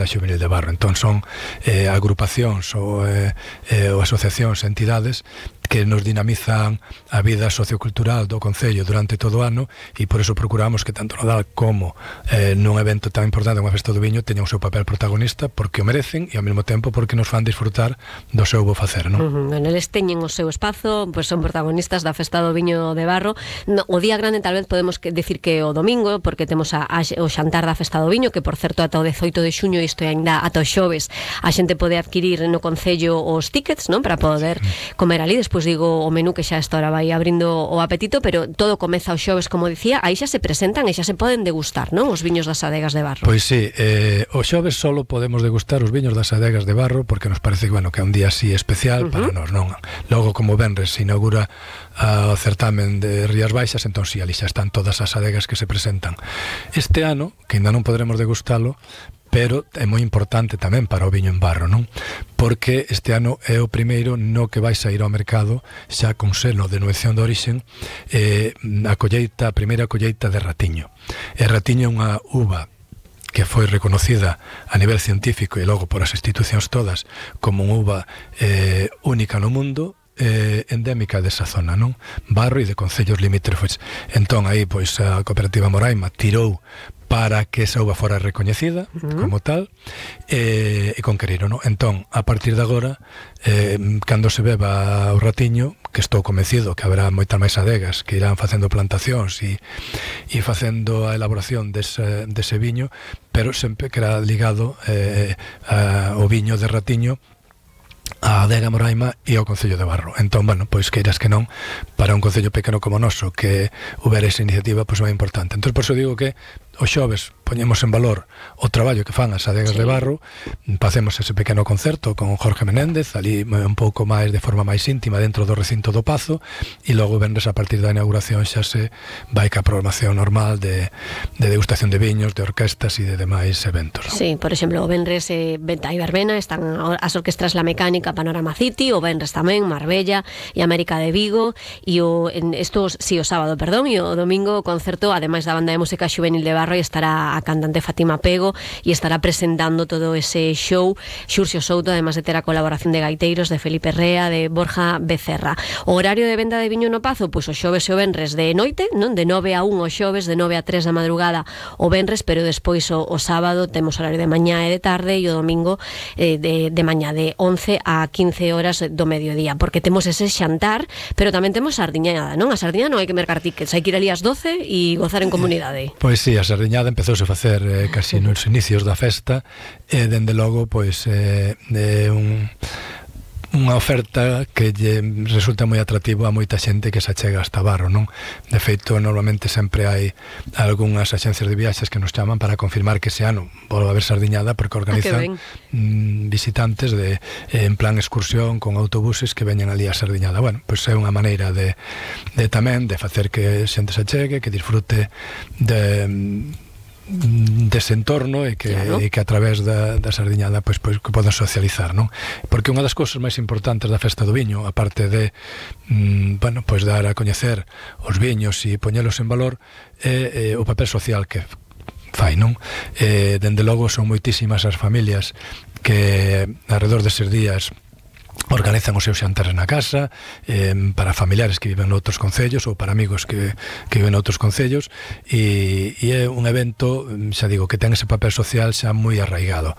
da Xuvenil de Barro. Entón son agrupacións ou asociacións, entidades que nos dinamizan a vida sociocultural do Concello durante todo o ano, e por eso procuramos que tanto Nadal como nun evento tan importante como a Festa do Viño teñan o seu papel protagonista, porque o merecen e ao mesmo tempo porque nos fan disfrutar do seu bo facer, non? Eles teñen o seu espazo, pois son protagonistas da Festa do Viño de Barro. O día grande tal vez podemos decir que o domingo, porque temos o xantar da Festa do Viño, que por certo ata o 18 de xuño, isto é ainda ata o xoves, a xente pode adquirir no Concello os tickets, non, para poder comer ali. Despois digo o menú, que xa esta hora vai abrindo o apetito, pero todo comeza o xoves, como dicía. Aí xa se presentan e xa se poden degustar, non, os viños das adegas de Barro. Pois sí, o xoves solo podemos degustar os viños das adegas de Barro, porque nos parece que, bueno, que é un día así especial para nós, non? Logo, como venres, se inaugura o certamen de Rías Baixas, entón si, ali xa están todas as adegas que se presentan. Este ano, que ainda non poderemos degustalo, pero é moi importante tamén para o viño en barro, non? Porque este ano é o primeiro no que vai sair ao mercado xa con selo de denominación de orixen a primeira colleita de Ratiño. E Ratiño é unha uva que foi reconocida a nivel científico e logo por as institucións todas como unha uva única no mundo, endémica desa zona, non? Barro e de concellos limítrofes. Entón aí pois a cooperativa Moraima tirou para que esa uva fora recoñecida como tal, e conqueriron, non? Entón, a partir de agora, cando se beba o Ratiño, que estou convencido que haberá moitas máis adegas que irán facendo plantacións e facendo a elaboración dese viño, pero sempre queda ligado ao viño de Ratiño, a adega Moraima e ao Concello de Barro. Entón, bueno, pois queiras que non, para un concello pequeno como o noso, que houbera esa iniciativa, pois é moi importante. Entón, por iso digo que o xoves poñemos en valor o traballo que fan as adegas de Barro, facemos ese pequeno concerto con Jorge Menéndez, ali un pouco máis de forma máis íntima dentro do recinto do Pazo, e logo venres a partir da inauguración xa se vai ca programación normal de degustación de viños, de orquestas e de demais eventos, non? Sí, por exemplo, o venres Venta e Verbena, están as orquestras La Mecánica, Panorama City, o venres tamén Marbella e América de Vigo, e o sábado, perdón, e o domingo o concerto, ademais da banda de música Xuvenil de Barro, e estará a cantante Fátima Pego e estará presentando todo ese show Xurxo Souto, además de ter a colaboración de gaiteiros de Felipe Rea, de Borja Becerra. O horario de venda de viño no Pazo, pois o xoves e o venres de noite, non? De 9 a 1 o xoves, de 9 a 3 da madrugada o venres, pero despois o sábado temos horario de mañá e de tarde, e o domingo de mañá de 11 a 15 horas do mediodía, porque temos ese xantar, pero tamén temos sardiñada, non? A sardiña non hai que mercar tickets, hai que ir ali ás 12 e gozar en comunidade. Pois sí, a sardiñada empezouse a facer casi nos inicios da festa, e dende logo pois unha oferta que lle resulta moi atractivo a moita xente que se achega hasta Barro, non? De feito, normalmente sempre hai algunhas axencias de viaxes que nos chaman para confirmar que ese ano volve a haber sardiñada, porque organizan visitantes en plan excursión con autobuses que veñen ali a sardiñada. Bueno, pois é unha maneira de tamén de facer que xente se achegue, que disfrute dese entorno e que a través da sardiñada pois que poden socializar, non? Porque unha das cousas máis importantes da Festa do Viño, aparte de pois dar a coñecer os viños e poñelos en valor, é o papel social que fai, non? Dende logo son moitísimas as familias que alrededor deses días organizan os seus xantares na casa, para familiares que viven noutros concellos ou para amigos que viven noutros concellos, e é un evento, xa digo, que ten ese papel social xa moi arraigado.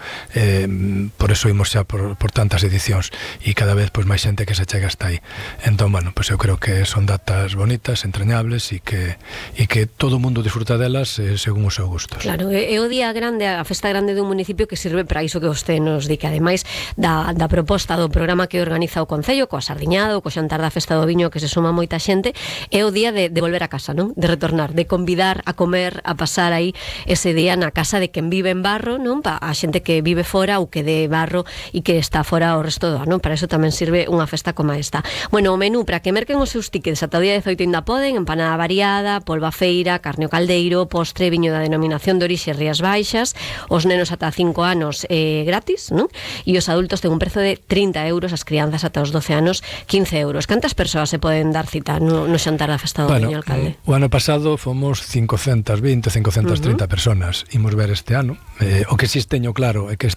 Por eso imos xa por tantas edicións e cada vez pois máis xente que se chega hasta aí. Entón, bueno, pois eu creo que son datas bonitas, entrañables, e que todo o mundo disfruta delas según o seu gusto. Claro, é o día grande, a festa grande dun municipio, que sirve para iso que vostede nos di, que ademais da proposta do programa que organiza o Concello, coa sardiñada, co xantar da Festa do Viño, que se suma moita xente, é o día de volver a casa, non? De retornar, de convidar a comer, a pasar aí ese día na casa de quen vive en Barro, non? A xente que vive fora ou que de Barro e que está fora o resto do ano. Para eso tamén sirve unha festa como esta. Bueno, o menú, para que merquen os seus tickets ata o día 18 ainda poden: empanada variada, polva feira, carne ao caldeiro, postre, viño da denominación de orixe Rías Baixas, os nenos ata 5 anos gratis, non? E os adultos ten un prezo de 30 euros, as crianzas ata os 12 anos, 15 euros. Cantas persoas se poden dar cita no xantar da festa do Viño, alcalde? O ano pasado fomos 520, 530 personas. Imos ver este ano. O que si teño claro é que